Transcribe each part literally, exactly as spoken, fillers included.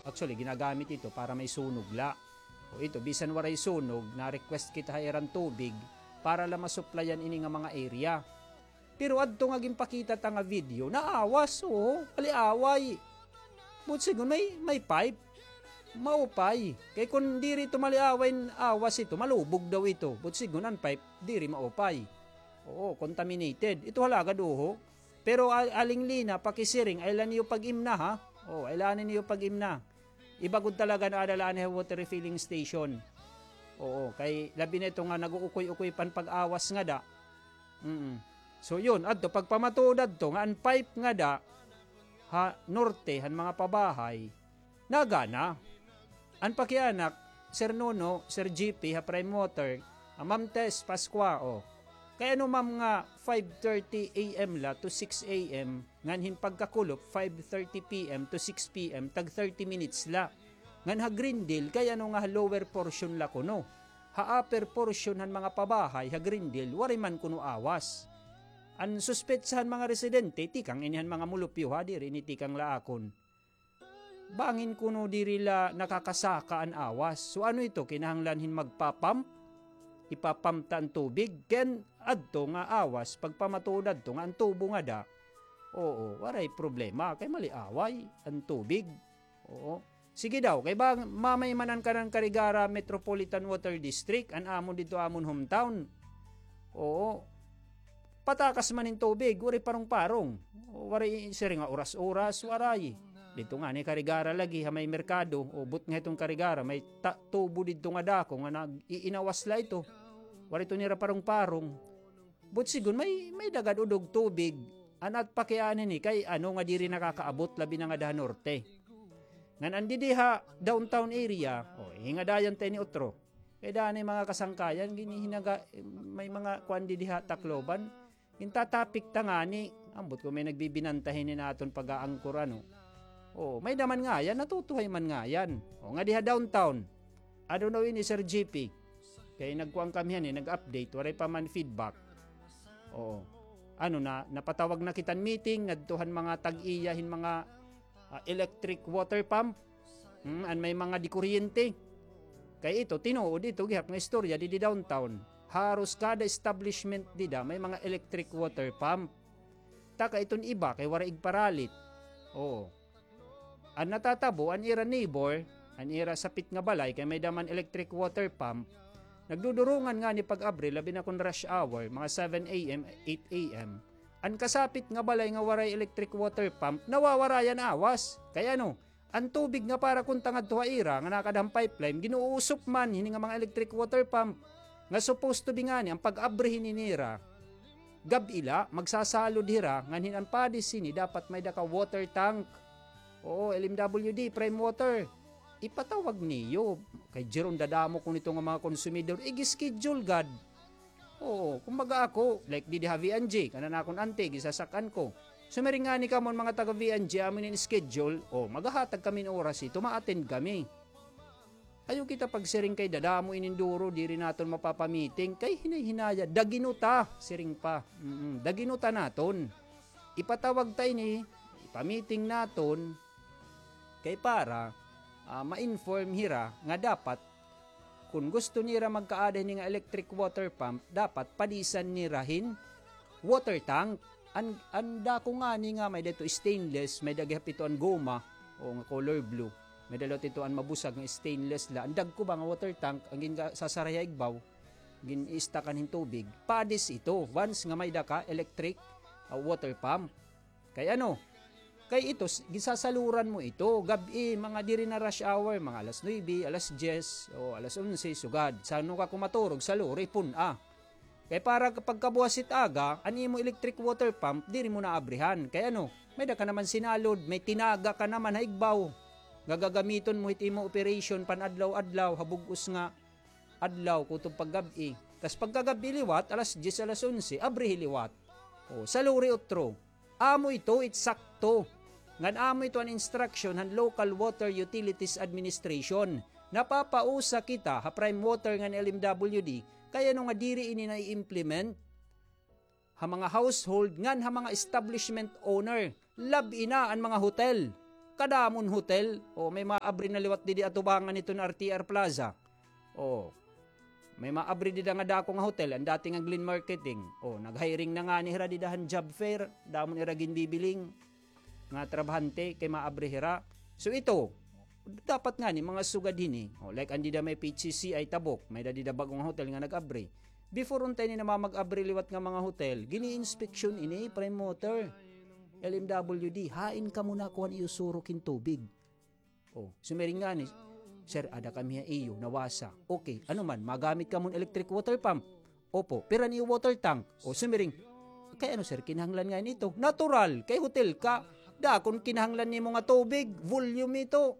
Actually, ginagamit ito para may sunog la. O ito, bisan waray sunog, na-request kita ha iran tubig para la masuplayan ini nga mga area. Pero adto nga ginpakita ta nga video, naawas, oo, maliaway. Buot sigon may, may pipe. Maupay. Kay kun diri ito maliaway, awas ito, malubog daw ito. Buot sigon an pipe, diri maupay. Oo, contaminated. Ito halagad, uho. Pero al-, Aling Lina, pakisiring, ay la niyo pag-imna, ha? Oo, ay la niyo pag-imna. Iba gud talaga na ada la anay ha water refilling station. Oo, kay labi na ito nga nag-uukoy-ukoy pa hin pag-awas ngada. Mm. So yun, adto, pagpamatuod adto, nga an pipe ngada, ha norte, han mga pabahay, nagana. An pakianak, Sir Nuno, Sir G P, ha Prime Water, ah, Ma'am Tess Pascua, o. Kay ano, ma'am, nga five thirty A M la to six A M, ngan hin pagkakulop, five thirty P M to six P M, tag thirty minutes la. Ngan ha Greendale, kay ano nga ha lower portion la kuno. Ha upper portion han mga pabahay, ha Greendale, waray man kuno awas. An suspetsa han mga residente, tikang ini han mga mulupyo, ha, diri ini tikang la akon. Bangin kuno diri la nakakasaka an awas. So ano ito, kinahanglan hin magpa-pump? Ipa-pump ta an tubig? Ken adto nga awas, pagpamatuod adto nga an tubo ngada, oo, waray problema, kay maliaway an tubig. Oo. Sige daw, kay ba, mamay man an kanan Carigara Metropolitan Water District, an amon didto amon hometown. Oo. Patakas man hin tubig, waray parong-parong. Waray siring nga oras-oras, waray. Didto ngani Carigara lagi, ha may merkado, o but nga hiton Carigara, may ta-, tubo didto nga dako nga nag-iinawas la ito. Waray ito nira parong-parong. But sigon, may, may dagad udog tubig. An at pakiana ini, kay ano nga diri nakakaabot, labi na ngada ha norte. Ngan an didi ha downtown area, o, hingadayan ta ini utro. Kay danay mga kasangkayan, ginhihinaga, may mga kuan didi ha Tacloban. Gintatapik ta ngani, ambot kon may nagbibinanta hini naton pag-aangkor, ano. O, may-ada man ngayan, natutuhay man ngayan. O, ngadi ha downtown. I don't know ini, Sir G P. Kay nagkuan kami han, eh, nag-update, waray pa man feedback. Oo. Ano na, napatawag na kita hin meeting, ngadto han mga tag-iya hin mga ah, electric water pump. Hmm, an may mga dikuryente. Kay ito, tinuod ito, gihap nga istorya, didi downtown. Haros kada establishment dida, may mga electric water pump. Taka iton iba, kay waray igparalit. Oo. An natatabo, an ira neighbor, an ira sapit nga balay, kay may-ada man electric water pump, nagdudurongan ngani pag-abri, labi na kon rush hour, mga seven A M, eight A M. An kasapit nga balay nga waray electric water pump, nawawarayan awas. Kay ano, an tubig nga para kunta ngadto ha ira nga nakada han pipeline, ginuusop man hini nga mga electric water pump. Nga supposed to be ngani, an pag-abri hini nira, gab-i la, magsasalod hira, ngan hin an padis hini, dapat may-ada ka water tank. Oo, L M W D, Prime Water. Ipatawag niyo. Kay Jeron, dadamo kuno ito nga mga konsumidor. Ig-schedule gad. Oo, kumbaga ako, like didi ha V N G, kanan akon auntie, gisasak-an ko. Sumiring ngani kamo an mga taga V N G, amo ini in schedule, o, maghahatag kami hin oras hito, ma-attend kami. Ayaw kita pagsiring kay dadamo inin duro, diri naton mapapamiting, kay hinay-hinaya, dagino ta, siring pa. Mm, dagino ta naton. Ipatawag ta ini, ipamiting naton, kay para, ah, ma-inform hira nga dapat, kon gusto nira magkaada hini nga electric water pump, dapat padisan nira hin water tank. An, an dako ngani nga may-ada ito stainless, may-ada gihap ito an goma, o nga color blue. May-ada liwat ito an mabusag nga stainless la. An dagko ba nga water tank, an ginsasaray ha igbaw, gin-i-stockan hin tubig. Padis ito, once nga may-ada ka electric, ah, water pump. Kay ano? Kay ito, s-, ginsasaluran mo ito. Gab-i, mga diri na rush hour, mga alas nuebe, alas dyes, o alas onse, sugad. San-o ka kumaturog, saluri, pun-a. Kay para pagkabuwas hit aga, an imo electric water pump, diri mo na abrihan. Kay ano? May-ada ka naman sinalod, may tinaga ka naman ha igbaw. Gagagamiton mo hit imo operation pan-adlaw-adlaw, ha bug-os nga adlaw, kutob paggab-i. Tas pagkagab-i liwat, alas dyes, alas onse, abrihi liwat. O, saluri utro. Amo ito, it sakto. Ngan amo ito an instruction han Local Water Utilities Administration. Napapausa kita ha Prime Water ngan L M W D, kay ano nga diri ini nai-implement ha mga household ngan ha mga establishment owner, lab-i na an mga hotel. Kadamon hotel. O, may maabri na liwat didi atubangan iton R T R Plaza. O, may maabri dida nga dako nga hotel, an dati nga Glen Marketing. O, nag-hiring na ngani hira dida han job fair, damon ira ginbibiling nga trabahante kay maabri hira. So ito, dapat ngani mga sugad hini. O, like an dida may P H C C I Tabok, may da dida bag-o nga hotel nga nag-abri. Before unta ini namamag-abri liwat nga mga hotel, gini-inspeksyon ini, Prime Water, L M W D, hain kamo nakuha an iyo surok hin tubig. O, sumiring ngani, "Sir, ada kami ha iyo, nawasa." "Okay, ano man, magamit kamo hin electric water pump?" "Opo." "Pira an iyo water tank?" O, sumiring, "Kay ano, sir, kinahanglan ngani ito?" Natural, kay hotel ka. Dakon kinahanglan nimo nga tubig, volume ito.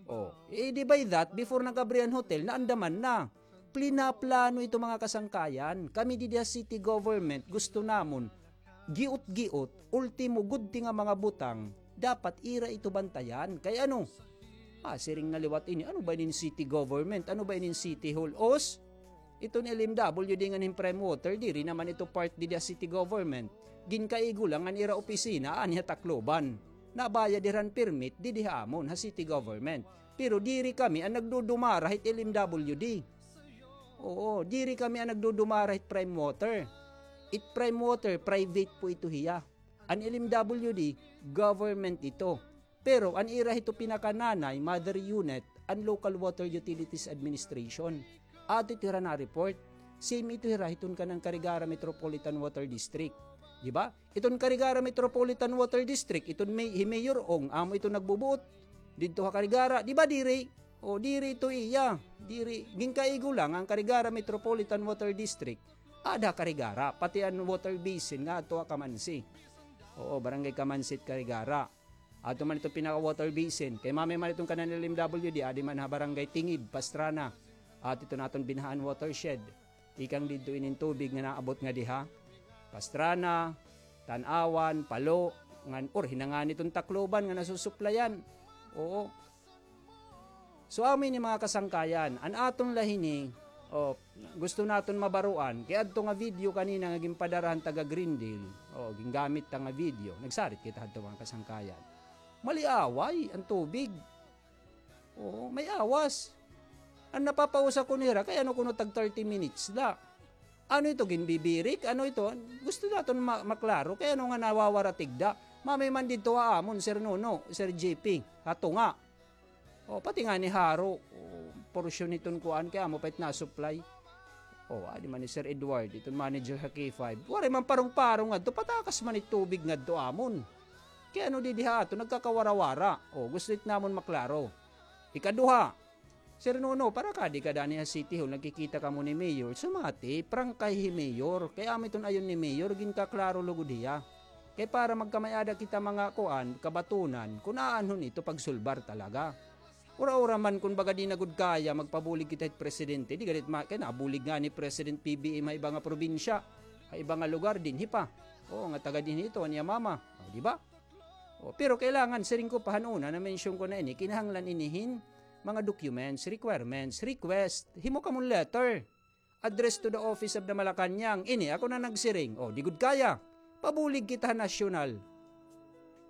O, eh, di by that, before nag-abri an hotel, naandaman na. Plinaplano ito, mga kasangkayan. Kami didi ha city government, gusto namon, giot-giot, ultimo, gudti nga mga butang, dapat ira ito bantayan. Kay ano? Ah, siring na liwat ini, ano ba inin city government? Ano ba inin city hall? Os, iton L M W D ngan hin Prime Water, diri naman ito part didi ha city government. Ginkaigo la ngan ira opisina, ani ha Tacloban. Nabayad hira hin permit, didi ha amon, ha city government. Pero diri kami an nagdudumara hit L M W D. Oo, diri kami an nagdudumara hit Prime Water. It Prime Water, private po ito hiya. An L M W D, government ito. Pero an ira hito pinakananay, mother unit, an Local Water Utilities Administration. Ato ito hira na-report. Same ito hira hiton kanan Carigara Metropolitan Water District. Di ba? Iton Carigara Metropolitan Water District, iton may, hi Mayor Ong, amo ito nagbubuot. Didto ha Carigara, di ba diri? O, diri ito iya. Diri, ginkaigo la nga an Carigara Metropolitan Water District. Ada Carigara, pati an water basin nga adto ha Camansi. Oo, Barangay Camansi it Carigara. Adto man ito pinaka water basin. Kay mamay man iton kanan L M W D, adi man ha Barangay Tingib, Pastrana. At ito naton Binahaan watershed. Tikang didto inin tubig nga naabot nga diha. Pastrana, Tan-awan, Palo, ngan, or hinangani iton Tacloban nga nasusuplayan. Oo. So, amo ini mga kasangkayan. An aton la hini, o, gusto naton mabaroan, kay adto nga video kanina nga ginpadara han taga Greendale, o, gingamit ta nga video. Nagsarit kita hadto, mga kasangkayan. Maliaway an tubig. Oo, may awas. An napapausa kuno hira, kay ano kuno tag thirty minutes la. Ano ito, ginbibirik? Ano ito? Gusto naton ma-, maklaro. Kay ano nga nawawara tigda? Mamay man didto ha amon, Sir Nuno, Sir J P, ha tunga. O, pati ngani haro, o, porsyon hiton kuan, kay amo pa it na-supply. O, adi man ni Sir Edward, iton manager ha K five. Waray man parong-parong ngadto, patakas man it tubig ngadto amon. Kay ano didi ha aton, nagkakawarawara. O, gusto it namon maklaro. Ikaduha, Sir Nuno, para kadi ka dani ha City Hall, nagkikita kamo ni Mayor. Sumati, prangkay hi Mayor. Kay amo iton ayon ni Mayor, ginkaklaro lugod hiya. Kay para magkamay-ada kita mga kuan, kabatunan, kun aanhon ito pagsulbar talaga. Ura-ura man kun baga di na gud kaya, magpabulig kita hit presidente, di gad it ma-, kay nabulig ngani President P B M ha iba nga probinsya, ha iba nga lugar, dinhi pa. Oo, nga taga dinhi ito, an iya mama. O, di ba? O, pero kailangan, siring ko pa han una, na-mention ko na ini, kinahanglan ini hin mga documents, requirements, request, himo kamon letter. Address to the office of the Malacañang. Ini, ako na nagsiring. O, di gud kaya. Pabulig kita ha nasyonal.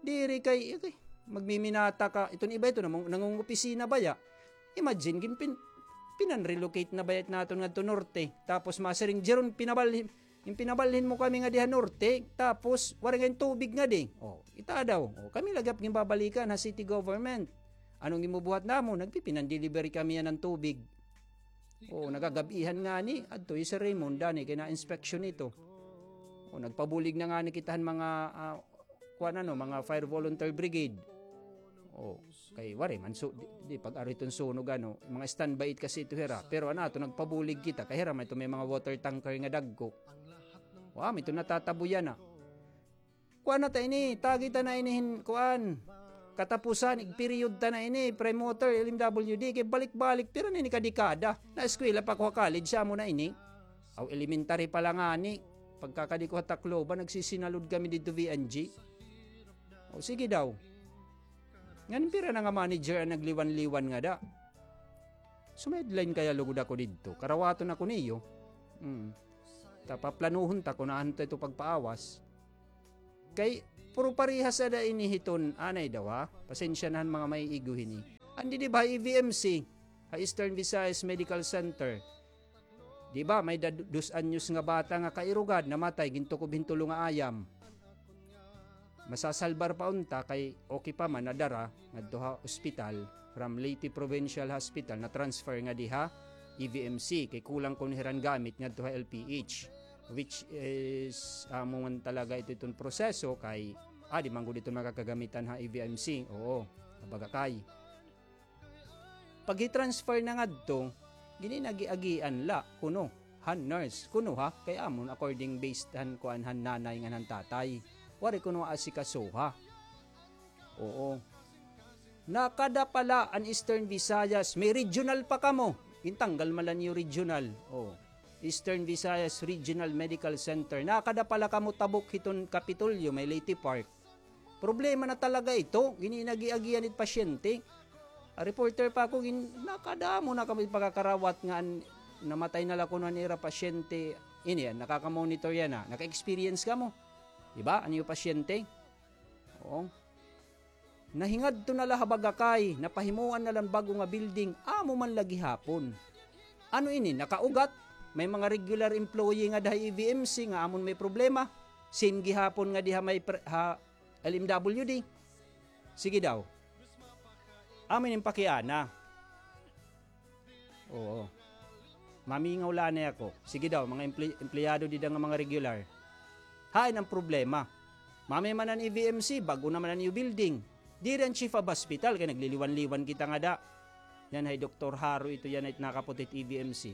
Diri kay, okay, magmiminata ka. Iton iba ito, namang-, nangungopisina baya. Imagine, gin pin-, pinan-relocate na baya naton ngadto norte. Tapos masiring, Jeron, pinabalhin, gin pinabalhin mo kami ngadi ha norte. Tapos, waray ngay-an tubig ngadi. O, ita daw. O, kami la gihap ginbabalikan ha city government. Anong ginbubuhat namon? Nagpipinan-delivery kami yana hin tubig. Oo, nagagab-ihan ngani, adto hi Sir Raymond, dani kay na-inspection ito. O, nagpabulig na ngani kita han mga, ah, kuan ano, mga fire volunteer brigade. O, kay waray man, so, di, di pag-ari iton sunog, ano, mga standby it kasi ito hira. Pero ano, ato, nagpabulig kita, kay hira man ito may mga water tanker nga dagko. Wa, may ito natatabuyan na. Kuan na ta ini, tagi ta na ini hin, kuan. Katapusan, ig-period ta na ini, Prime Water, L M W D, kay balik-balik, pira na ini ka dekada. Na-eskwela pa ko ha college, amo na ini. Aw, elementary pa la ngani. Pagkakadi ko ha Tacloban, nagsisinalod kami didto V N G. O, sige daw. Ngan pira na nga manager an nagliwan-liwan ngada. Sumideline kaya lugod ako didto. Karawaton ako niyo. Mm. Ta paplanuhon ta kun aanhon ta ito pagpaawas. Kay, Pero parehas ada ini hiton, anay daw, ha? Pasensya na han mga maiigo hini. Andi, di ba, ha E V M C, ha Eastern Visayas Medical Center. Di ba, may da-, dos anyos nga bata nga kairugad, namatay, gintukob hin tulo nga ayam. Masasalbar pa unta kay okay pa man, nadara ngadto ha ospital, from Leyte Provincial Hospital, na-transfer ngadi ha E V M C, kay kulang kuno hira hin gamit ngadto ha L P H, which is, amo man talaga ito iton proseso kay, ah, di man gud ito makakagamitan ha E V M C, oo, ha Bagakay. Pag-i-transfer na ngadto, gininagiagian la kuno han nurse, kuno ha, kay amon according based han kuan han nanay ngan han tatay. Waray kuno asikasuha. Oo. Nakada pala an Eastern Visayas, may regional pa kamo. Gintanggal man la niyo regional. Oo. Eastern Visayas Regional Medical Center. Nakada pala kamo tabok hiton Kapitolyo, may Leyte Park. Problema na talaga ito. Gininagiagian it pasyente. A reporter pa ako, gin-, nakadamo na kami pagkakarawat nga an-, namatay na la kuno an ira pasyente. Ini, an nakakamonitor yana. Naka-experience kamo. Di ba? An iyo pasyente? Oo. Nahingadto na la ha Bagakay, napahimuan na la hin bag-o nga building, amo man la gihapon. Ano ini, nakaugat? May mga regular employee ngada ha E V M C nga amon may problema. Same gihapon ngadi ha may pre-, ha L M W D. Sige daw. Amo ini an pakiana. Oo. Mamingaw la anay ako. Sige daw, mga emple-, empleyado dida nga mga regular. Hain an problema? Mamay man an E V M C, bag-o naman an iyo building. Diri an chief of hospital, kay nagliliwan-liwan kita ngada. Yana hi Doktor Haro ito, yana it nakaputi it E V M C.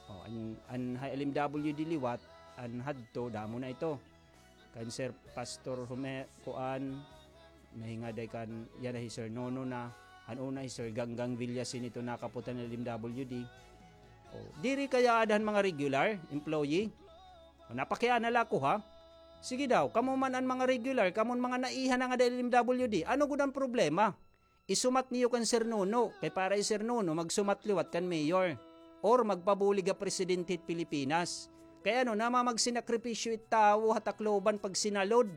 O, an, an ha L M W D liwat, an hadto, damo na ito. Kan Sir Pastor Hume-, kuan, nahingaday kan, yana hi Sir Nono na, han una hi Sir Ganggang Villasin ito nakaputi han L M W D. O, diri kay aada han mga regular employee? O, napakiana la ako, ha? Sige daw, kamo man an mga regular, kamo an mga naiha na ngada L M W D, ano gud an problema? Isumat niyo kan Sir Nono, kay para hi Sir Nono magsumat liwat kan mayor or magpabulig ha presidente hit Pilipinas. Kay ano, namamagsakripisyo it tawo ha Tacloban pag sinalod.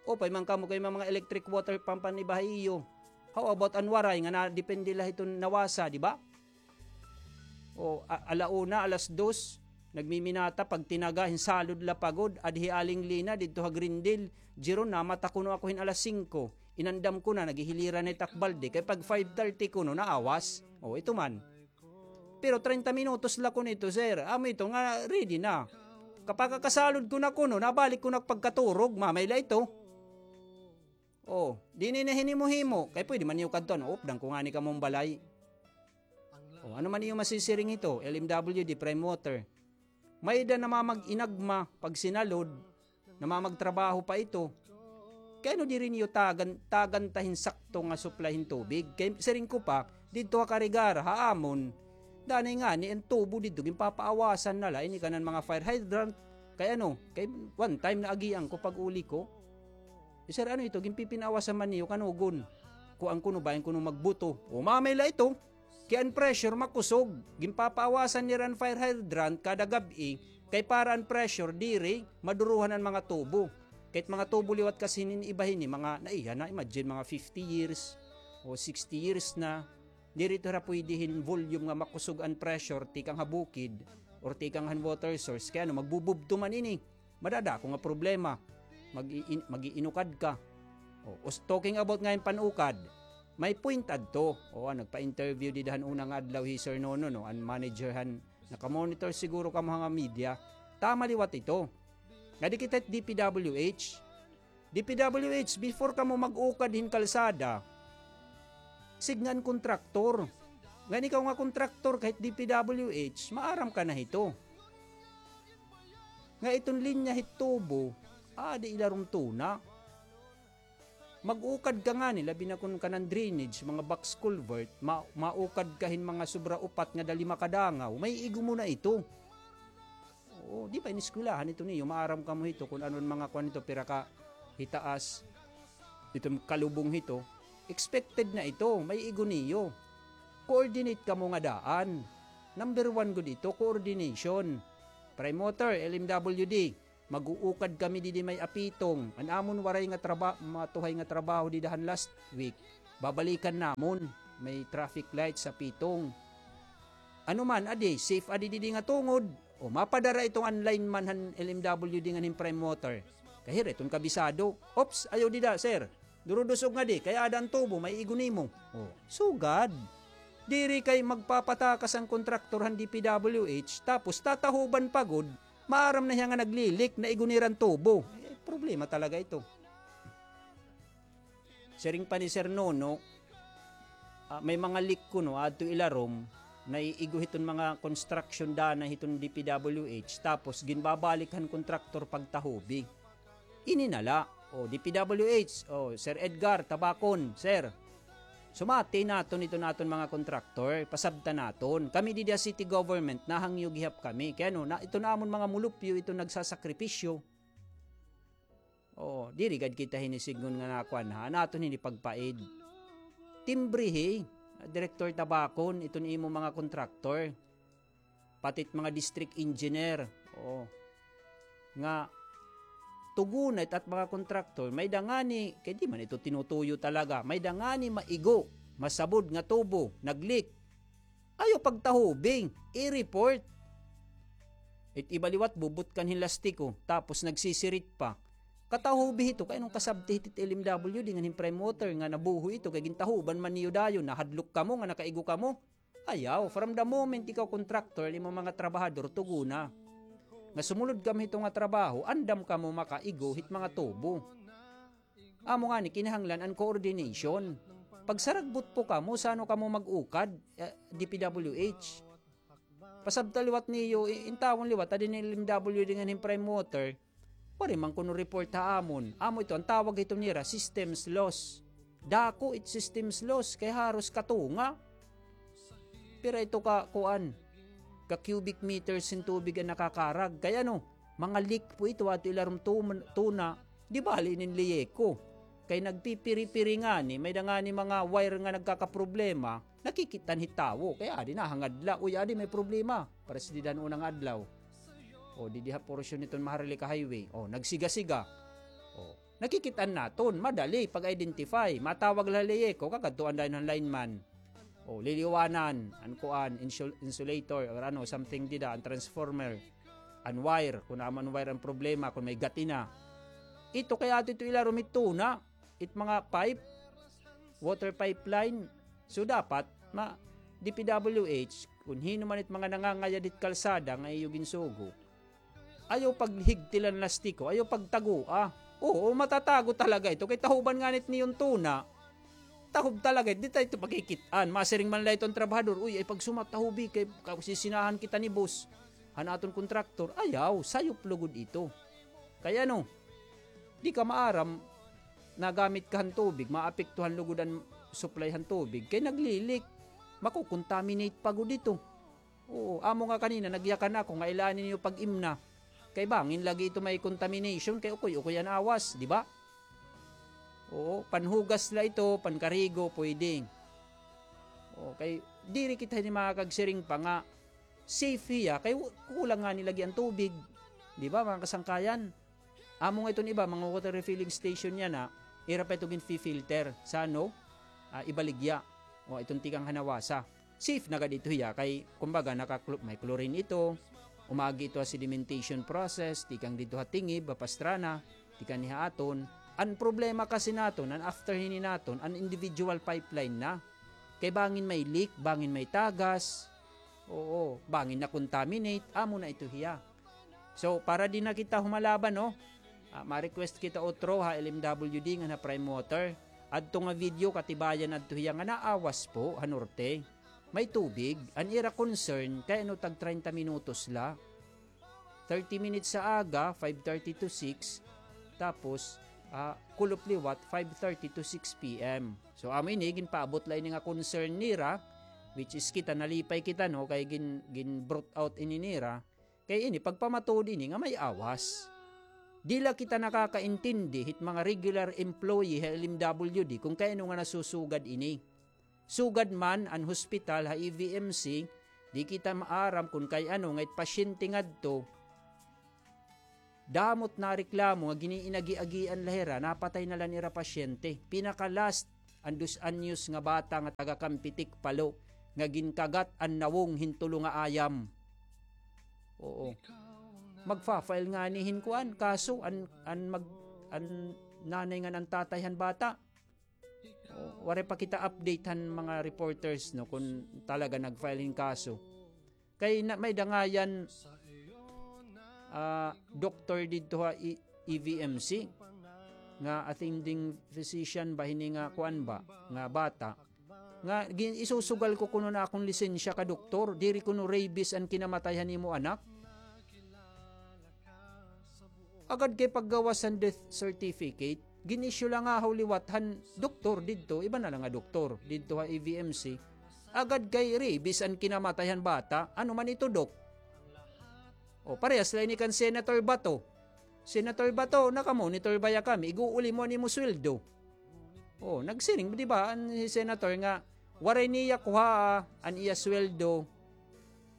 Upay man kamo kay mga electric water pump an iba ha iyo. How about an Waray nga nadepende la hiton nawasa, di ba? O, a-, ala una, alas dos, nagmiminata, pagtinaga, hinsalod la pa gud, adhi Aling Lina, didto ha Grindel, Jeron, namata kuno ako hin alas singko. Inandam ko na, naghihiliran na it ak balde, kay pag five thirty kuno, naawas. O, ito man. Pero treinta minutos la kuno ito, sir. Amo ito nga, ready na. Kapagkakasalod ko na kuno, nabalik ko na pagkaturog, mamay la ito. O, diri na hinimo-himo. Kay pwede man niyo kadtuan, updan ko ngani kamo hin balay. O, ano man iyo masisiring hito, L M W D, Prime Water. May-ada namamag-inagma, pag sinalod, namamagtrabaho pa ito. Kay ano diri niyo tagan, tagan ta hin sakto nga supply hin tubig? Kay siring ko pa, didto ha Carigara, ha amon, danay ngani an tubo didto, ginpapaawasan na la, ini kanan mga fire hydrant. Kay ano, kay one time naagian ko pag-uli ko. Eh, sir, ano ito? Ginpipinaawasan man niyo, kanugon. Kuan kuno, bahin kuno magbuto. O, mamay la ito. Kay an pressure makusog. Ginpapaawasan nira an fire hydrant kada gab-i. Kay para an pressure, diri maduruhan an mga tubo. Kay it mga tubo liwat kasi hinin iba hini, mga naiha na, imagine, mga fifty years o sixty years na. Diri ito hira pwede hin volume nga makusog an pressure tikang ha bukid or tikang han water source. Kay ano, magbububto man ini. Madadako nga problema. Mag-iin-, mag-iinukad ka. O, us-, talking about nga hin panukad, may point adto. O, ah, nagpa-interview dida han una nga adlaw hi Sir Nono, no? An manager han, nakamonitor siguro kamo ha mga media. Tama liwat ito. Ngadi kita hit D P W H. D P W H, before kamo mag-ukad hin kalsada, sidnga an kontraktor. Ngan ikaw nga kontraktor, kahit D P W H, maaram ka na hito. Nga iton linya hit tubo, adi ilarom tuna. Mag-ukad ka ngani, labi na kun kanan drainage, mga box culvert, ma-, maukad ka hin mga sobra upat ngada lima ka dangaw, maiigo mo na ito. Oo, di ba ineskwelahan ito niyo? Maaram kamo hito kun ano an mga kuan nito, pira ka hitaas, iton kalubong hito. Expected na ito, maiigo niyo. Coordinate kamo nga daan. Number one gud ito, coordination. Prime Water, L M W D. Mag-uukad kami didi may Apitong. An amon waray nga traba-, matuhay nga trabaho dida han last week. Babalikan namon. May traffic light sa Apitong. Ano man, adi, safe adi didi nga tungod. O, mapadara iton an lineman han L M W D ngan hin Prime Water. Kay hira iton kabisado. Ops, ayaw dida, sir. Durudusog nga di, kay ada an tubo, may igo nimo. O, sugad. Diri kay magpapatakas an kontraktor han D P W H, tapos tatahuban pa gud, maaram na hiya nga nagli-leak, naigo nira an tubo. Eh, problema talaga ito. Siring pa ni Sir Nono, ah, may mga leak kuno adto ilarom, naiigo hiton mga construction dana hiton D P W H, tapos ginbabalik han kontraktor pagtahubi. Ini na la. O, D P W H, o, Sir Edgar Tabacon, sir. Sumati naton iton aton mga kontraktor, pasabta naton. Kami didi ha city government, nahangyo gihap kami. Kay ano, na, iton amon mga mulupyo, iton nagsasakripisyo. Oo, diri gad kita hini sidngon nga nakuan ha, naton hini pagpaid. Timbrihi, Director Tabacon, iton imo mga kontraktor. Pati it mga district engineer. Oo. Nga, tugona it at mga kontraktor, may-ada ngani, kay di man ito tinutuyo talaga, may-ada ngani maigo, masabod nga tubo, nag-leak. Ayaw pagtahubing, i-report. It iba liwat, bubutkan hin lastiko, tapos nagsisirit pa. Katahubi hito, kay anong kasabti hit L M W D ngan hin Prime Water nga nabuho ito, kay gintahuban man niyo dayon, nahadlok kamo nga nakaigo kamo. Ayaw, from the moment ikaw contractor, imo mga trabahador, tugona. Nga sumulod kamo hito nga trabaho, andam kamo makaigo hit mga tubo. Amo ngani, kinahanglan an coordination. Pagsaragbot po kamo, sano kamo mag-ukad, eh, D P W H. Pasabta liwat niyo, i-, intawon liwat, adi ni L M W D ngan hin Prime Water, waray man kuno report ha amon. Amo ito, an tawag hito nira, systems loss. Dako it systems loss, kay haros katunga. Pira ito ka, kuan, ka cubic meters hin tubig an nakakarag. Kay ano, mga leak po ito, ato ilarom tum-, tuna, di bali inin Lieko. Kay nagpipiri-piri ngani, may-ada ngani mga wire nga nagkakaproblema, nakikit-an hit tawo. Kay adi nahangad la, uy, adi may problema. Pareho dida han una nga adlaw. O, didi ha porsyon hiton Maharlika Highway. O, nagsiga-siga. O, nakikit-an naton, madali pag-identify. Matawag la ha Lieko, kakadtuan dayon han lineman. O, liliwanan, an kuan, insul-, insulator, or ano, something dida, an transformer, an wire, kun amo an wire an problema, kun may gati na. Ito kay ato ito ilarom hit tuna, it mga pipe, water pipeline. So, dapat, ma-, D P W H, kun hin-o man it mga nangangayad hit kalsada nga iyo ginsugo, ayaw paghigtilan lastiko, ayaw pagtagoa. Oo, matatago talaga ito. Kay tahuban ngani it niyo hin tuna, tahob talaga ito. Di ta ito pakikit-an. Masiring man la ito an trabahador, "Uy, ay pagsumat, tahobi, kay ka-, sisinahan kita ni boss." Han aton kontraktor, ayaw, sayop lugod ito. Kay ano, di ka maaram, nagamit ka han tubig, maapektuhan lugod an supply han tubig, kay nagli-leak, mako-contaminate pa gud ito. Oo, amo nga kanina, nagyakan ako nga ilain niyo pag-imna. Kay bangin lagi ito may contamination, kay ukoy-ukoy an awas, di ba? Oo, panhugas la ito, pankarigo, pwede. Oo, kay diri kita hini makakagsiring pa nga safe hiya, kay wa-, kulang ngani lagi an tubig. Di ba, mga kasangkayan? Amo nga iton iba, mga water refilling station yana, ira pa ito ginfi-filter sa, ano, ah, ibaligya. O, iton tikang ha nawasa. Safe na gad ito hiya, kay, kumbaga, naka-clo-, may chlorine ito, umagi ito ha sedimentation process, tikang didto ha tingib, ha pastrana, tikang ni ha aton. An problema kasi naton, an after hini naton, an individual pipeline na. Kay bangin may leak, bangin may tagas, oo, bangin na-contaminate, amo na ito hiya. So, para di na kita humalaban, no? Ah, ma-request kita utro ha L M W D ngan ha Prime Water. Adto nga video, katibayan adto hiya nga naawas po ha norte. May tubig. An ira concern, kay ano tag treinta minutos la. Thirty minutes sa aga, five thirty to six. Tapos, ah, kulop liwat, five thirty to six P M. So, amo ini, ginpaabot la ini nga concern nira, which is kita, nalipay kita, no? Kay gin-, gin-brought out ini nira. Kay ini, pagpamatuod ini nga may awas. Di la kita nakakaintindi hit mga regular employee ha L M W D kun kay ano nga nasusugad ini. Sugad man an hospital ha E V M C, di kita maaram kun kay ano nga it pasyente ngadto, Damo it nareklamo nga gin-iinagi-agian la hira, napatay na la an ira pasyente. Pinaka-last, an dos anyos nga bata nga taga Campetic, Palo, nga ginkagat an nawong hin tulo nga ayam. Oo. Magfa-file ngani hin kuan, kaso an, an mag-, an nanay ngan an tatay han bata. O, waray pa kita update han mga reporters, no, kun talaga nag-file hin kaso. Kay na, may-ada ngay-an, ah, doktor didto ha E-, E V M C, nga attending physician ba hini nga kuan ba, nga bata. Nga gin-, isusugal ko kuno an akon lisensya ka doktor, diri kuno rabies an kinamatay han imo anak. Agad kay paggawas han death certificate, gin-issue la ngahaw liwat han doktor didto, iba na la nga doktor didto ha E V M C. Agad kay rabies an kinamatay han bata, ano man ito, Dok? O, parehas la ini kan Senator Bato. Senator Bato, naka-monitor baya kami, ig-uuli mo an imo sweldo. O, nagsiring, di ba, an hi Senator nga, waray niya kuhaa an iya sweldo.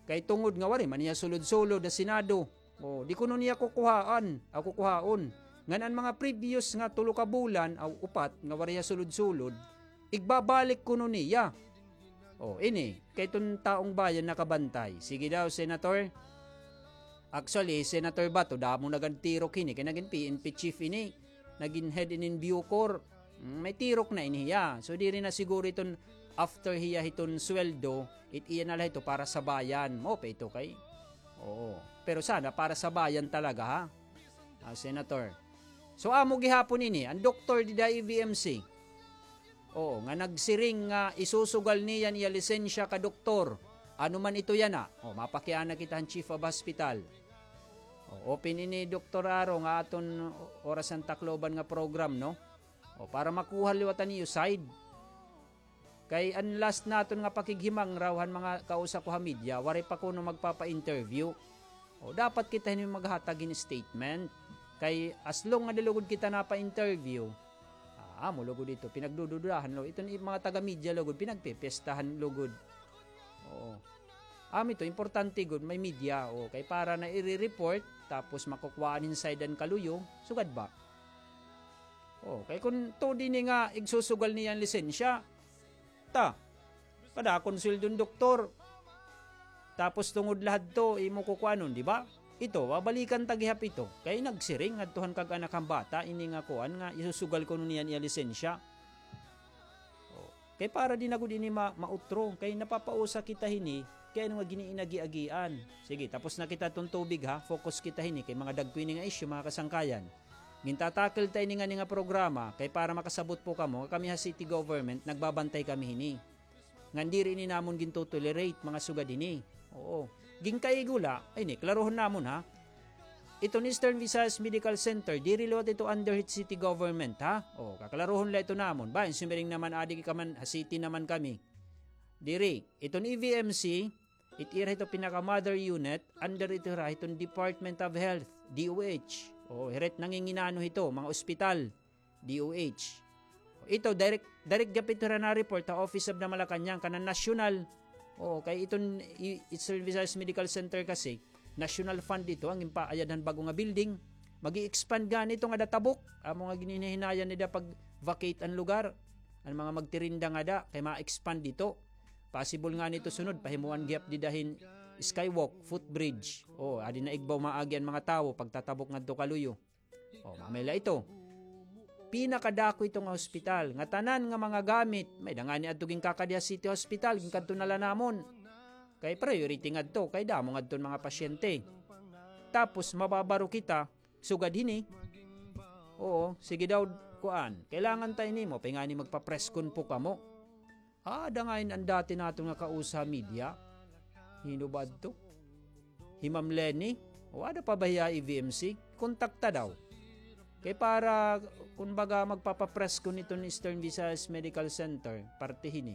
Kay tungod nga waray man niya sulod-sulod ha Senado. O, di kuno niya kukuhaan, o, kukuhaon. Ngan an mga previous nga tulo ka bulan, o, upat, nga waray hiya sulod-sulod, igbabalik kuno niya. O, ini, kay iton taong bayan nakabantay. Sige daw, Senator. Actually, Senator Bato, damo na gad tirok hini, kay nagin P N P chief ini, nagin head inin Bucor. Mm, may tirok na ini hiya. So, diri na siguro iton after hiya hiton sweldo, it iya na la ito para sa bayan. Mao pa ito kay? Oo. Pero sana para sa bayan talaga, ha? Ah, Senator. So, amo gihapon ini, an doktor dida E V M C. Oo, nga nagsiring nga isusugal niya an iya lisensya ka doktor. Ano man ito yana? O, mapakiana kita han chief of hospital. O, open ini, Doktor Aro, nga aton Oras han Tacloban nga program, no? O, para makuha liwat an iyo side. Kay an last naton nga pakighimangraw han mga kausa ko ha media, waray pa kuno magpapa-interview. O, dapat kita hini maghatag hin statement. Kay as long nga di lugod kita napa-interview, ah, amo lugod ito, pinagdududahan lo. Iton i-, mga taga-media lugod, pinagpepestahan lugod. Oo. Amo ito, importante gud, may media. O, kay para na ire-report, tapos makukuhaan hin side an kaluyo, sugad ba? O, kay kun tuod ini nga igsusugal niya an lisensya, ta, kadakon sweldo hin doktor. Tapos tungod la hadto, imo kukuanon, di ba? Ito, babalikan ta gihap ito. Kay nagsiring ngadto han kag-anak han bata, ini nga kuan nga isusugal kuno niya an iya lisensya. O, kay para di na gud ini ma-, mautro, kay napapausa kita hini, kay ano nga giniinagi-agian. Sige, tapos na kita ton tubig ha, focus kita hini, kay mga dagko ini nga issue, mga kasangkayan. Gintatakil ta ini ngani nga programa, kay para makasabot po kamo, nga kami ha city government, nagbabantay kami hini. Ngan diri ini namon gintotolerate, mga sugad hini. Oo. Ginkaigo la, ay ni, klarohon namon ha. Iton Eastern Visayas Medical Center, diri liwat ito under hit city government, ha? O, kaklarohon la ito namon. Ba, in sumiring naman, adi ka man, ha city naman kami. Diri, iton E V M C, it ira hito pinaka-mother unit, under ito hira hiton Department of Health, D O H. O, hira it nanginginano hito, mga ospital, D O H. Ito, direct, direct gihap ito hira na-report ha Office of the Malacañang, kanan national. O, kay iton i-, Eastern Visayas Medical Center kasi, national fund ito, an ginpaayad han bag-o nga building. Mag-i-expand gani ito ngada Tabok. Amo nga ginhinahinayan nida pag-vacate an lugar. An mga magtirinda ngada, kay ma-expand ito. Possible ngani ito sunod, pahimuan gihap dida hin skywalk, footbridge. O, adi na igbaw maagi an mga tawo, pagtatabok ngadto kaluyo. O, mamay la ito. Pinakadako ito nga hospital, nga tanan nga mga gamit, may-ada ngani adto ginkakadi ha City Hospital, ginkadto na la namon. Kay priority ngadto, kay damo ngadto an mga pasyente. Tapos, mababaro kita, sugad hini. Oo, sige daw, kuan, kailangan ta ini, mao pa ngani magpa-press con po kamo. Ada ngay-an an dati naton nga kausa ha media. Hin-o ba adto? Hi Ma'am Leni? O ada pa ba hiya ha E V M C? Kontakta daw. Kay para, kumbaga, magpapa-press con iton Eastern Visayas Medical Center, parte hini.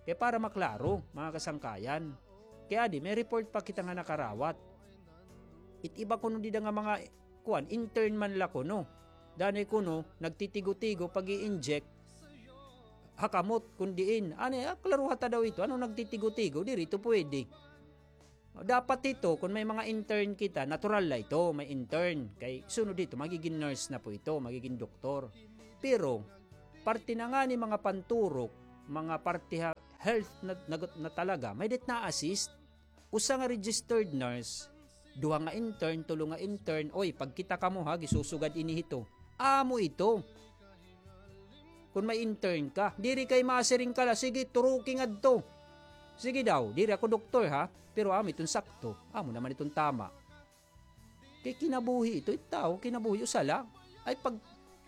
Kay para maklaro, mga kasangkayan. Kay adi, may report pa kita nga nakarawat. It iba kuno dida nga mga kuan, intern man la kuno. Danay kuno, nagtitigo-tigo pag-i-inject ha kamot, kun diin. Ani, ah, klaruha ta daw ito. Ano nagtitigo-tigo? Diri ito pwede. Dapat ito, kun may mga intern kita, natural la ito, may intern. Kay sunod ito, magigin nurse na po ito, magigin doktor. Pero, parte na ngani mga panturok, mga parte ha, health na, na, na talaga, may-ada it na-assist. Usa nga registered nurse, duha nga intern, tulo nga intern, oy, pagkita kamo ha, gisusugad ini hito. Amo ito. Kun may intern ka, diri kay masiring ka la, sige, turuki ngadto. Sige daw, diri ako doktor ha, pero amo iton sakto, amo naman iton tama. Kay kinabuhi ito, it tawo, kinabuhi, usa la. Ay pag,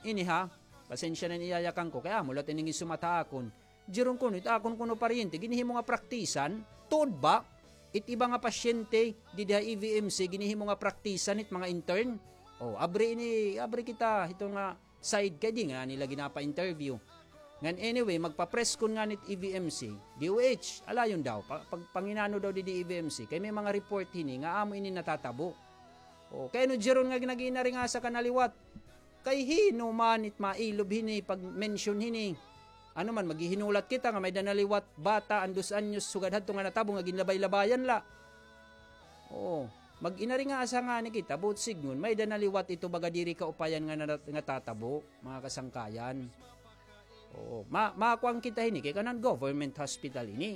ini ha, pasensya na it iyayakan ko, kay amo la it ining isumat ha akon. Diron kuno, it akon kuno paryente, ginhihimo nga praktisan, tuod ba? It iba nga pasyente, didi ha E V M C, ginhihimo nga praktisan, it mga intern. O, abri ini, abri kita, ito nga, side kay di ngani la ginapa-interview. Ngan anyway, magpa-press con ngani it E V M C, D O H, alayon daw, pa, pag, panginano daw didi E V M C, kay may mga report hini nga amo ini natatabo. O, kay ano diron nga nag-inaringasa ka na liwat? Kay hin-o man it mailob hini pag-mention hini? Ano man, maghihinulat kita nga may-ada na liwat bata, an dos anyos, sugad hadto nga natabo nga ginlabay-labayan la. Oo. Mag-inaringasa ngani kita, buot sidngon, may-ada na liwat ito baga diri kaupayan nga nara-, nga tatabo, mga kasangkayan. Oo. Ma-, makuan kita hini, kay kanan government hospital ini.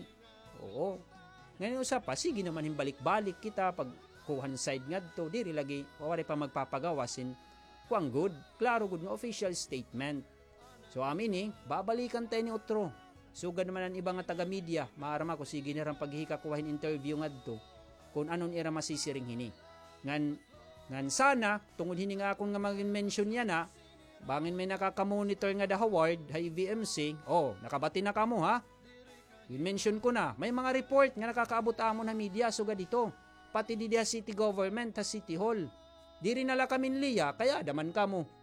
Oo. Ngan usa pa, sige naman hin balik-balik kita, pagkuha hin side ngadto, diri lagi, waray pa magpapagawas hin, kuan gud, klaro gud nga official statement. So, amo ini, babalikan ta ini utro. Sugad man an iba nga taga-media, maaram ako, sige nira paghikakuha hin interview ngadto, kun ano an ira masisiring hini. Ngan, ngan sana, tungod hini nga akon nga mag-mention yana, bangin may nakaka-monitor ngada ha ward, ha E V M C, o, nakabati na kamo, ha? Gin-mention ko na, may mga report nga nakakaabot amon ha media, sugad hito. Pati didi ha city government, ha city hall. Diri na la kami liya, kay aada man kamo.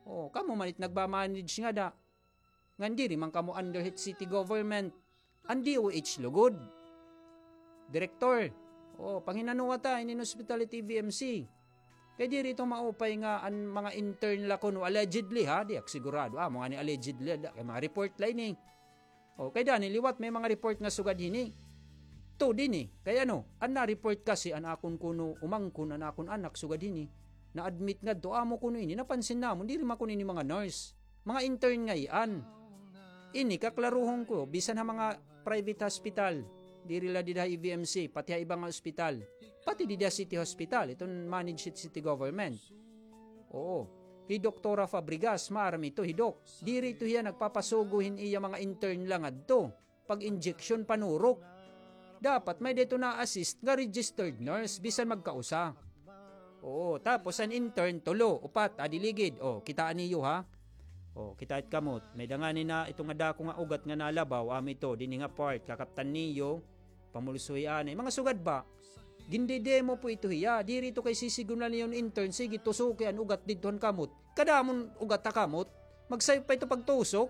O, kamo man it nagma-manage ngada. Ngan diri man kamo under hit city government. An D O H lugod. Direktor, o, panghinanoa ta, inin hospital it E V M C. Kay diri ito maupay nga an mga intern la kuno, allegedly, ha, di ak sigurado. Amo ngani allegedly, da, kay mga report la ini. O, kay dani liwat may mga report nga sugad hini. Tuod ini, kay ano, an na-report kasi an akon kuno umangkon, an akon anak sugad hini, na-admit ngadto, amo kuno ini, napansin namon, diri man kuno ini mga nurse. Mga intern ngay-an. Ini, kaklarohon ko, bisan ha mga private hospital, diri la dida ha E V M C, pati ha iba nga ospital, pati dida ha city hospital, iton managed hit city government. Oo. Hi Doktora Fabregas, maaram ito, hi Doc. Diri ito hiya nagpapasugo hin iya mga intern la ngadto. Pag-injection, panurok. Dapat may-ada ito na-assist nga registered nurse, bisan magkausa. Oo, tapos an intern, tulo, upat, adi ligid. O, kitaa niyo, ha? O, kitaa it kamot. May-ada ngani na, ito nga dako nga ugat nga nalabaw, amo ito, dinhi nga part, kakaptan niyo, pamulsuhi anay. Mga sugad ba? Gindidemo po ito hiya. Diri ito kay sisigon na niyo intern, sige, tusuki an ugat didto han kamot. Kadamon ugat ha kamot. Magsayop pa ito pagtusok.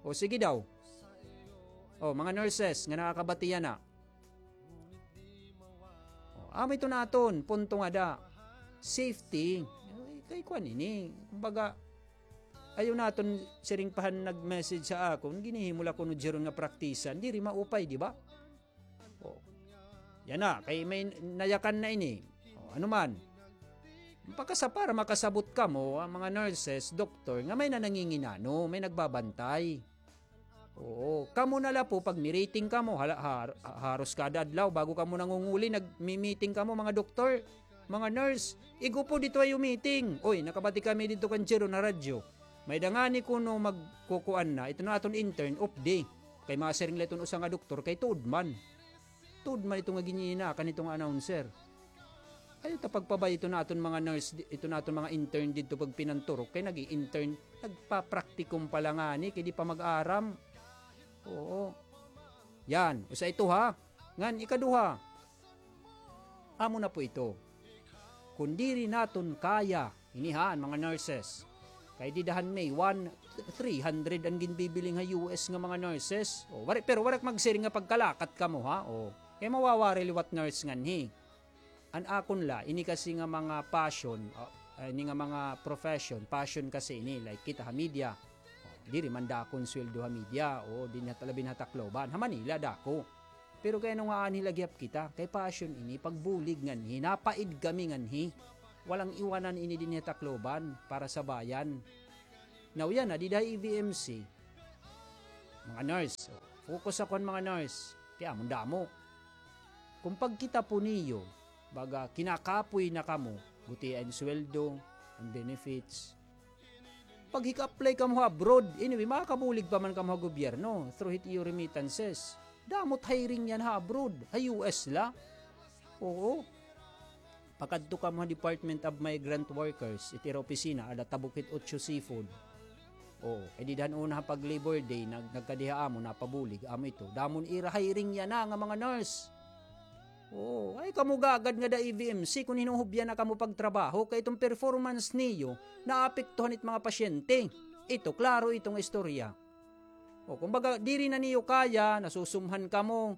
O, sige daw. O, mga nurses nga nakakabati yana. O, amo ito naton, punto ngada. Safety. Ay, kay kuan ini. Kumbaga, ayaw naton siring pa han nag-message ha akon, ginhihimo la kuno diron nga praktisan. Diri maupay, di ba? O. Yana, kay may nayakan na ini. O, ano man. Pakasa-, para makasabot kamo, an mga nurses, doktor, nga may nananginginano, may nagbabantay. Oo, kamo na la po, pag-meeting kamo, hala-, har-, haros kada adlaw, bago kamo nangunguli, nagmi-meeting kamo, mga doktor, mga nurse, igo po didto ha iyo meeting. Oy, nakabati kami didto kan Jero na radyo. May-ada ngani kuno magkukuan na, ito na aton intern, off day. Kay masiring la iton usa nga doktor, kay tuod man. Tuod man ito nga ginhinaa kan ito nga announcer. Ayaw ta pagpabay-i ito naton mga nurse, ito naton mga intern didto pagpinanturok, kay nag-i-intern, nagpa-practicum pa la ngani, kay di pa mag-aram. Oo. Yan, usa ito ha. Ngan ikaduha, amo na po ito. Kun diri naton kaya, ini ha, an mga nurses. Kay dida han May one, three hundred an ginbibiling ha U S nga mga nurses. O, wari, pero waray ak magsiring nga pagkalakat kamo, ha? O, kay mawawari liwat nurse nganhi. An akon la, ini kasi nga mga passion, o, ini nga mga profession, passion kasi ini, like kita ha media. O, diri man dako an sweldo ha media, o, dinhi ha, labi na ha Tacloban. Ha Manila, dako. Pero kay ano nga anhi la gihap kita? Kay passion ini, pagbulig nganhi, napaid kami nganhi. Walang iwanan ini dinhi ha Tacloban para sa bayan. Now, yana ha, dida ha E V M C, mga nurse, focus ako han mga nurse. Kay amo an damo. Kon pagkita po niyo, baga kinakapoy na kamo, gutia an sweldo, an benefits. Paghika-apply kamo ha abroad, anyway, makakabulig pa man kamo ha gobyerno through hit iyo remittances. Damo it hiring yana ha abroad, ha U S la. Oo. Pakadto kamo ha Department of Migrant Workers, it ira opisina, ada ha Bukid Otso Seafood. Oo, kay dida han una ha pag-Labor Day, nag-, nagkadi ha amon, napabulig, amo ito. Damo it ira hiring yana nga mga nurse. Oo, ay kamo gagad ngada E V M C, kon hinuhubya na kamo pagtrabaho, kay iton performance niyo, naapektuhan it mga pasyente. Ito, klaro ito nga istorya. O, kumbaga, diri na niyo kaya, nasusumhan kamo,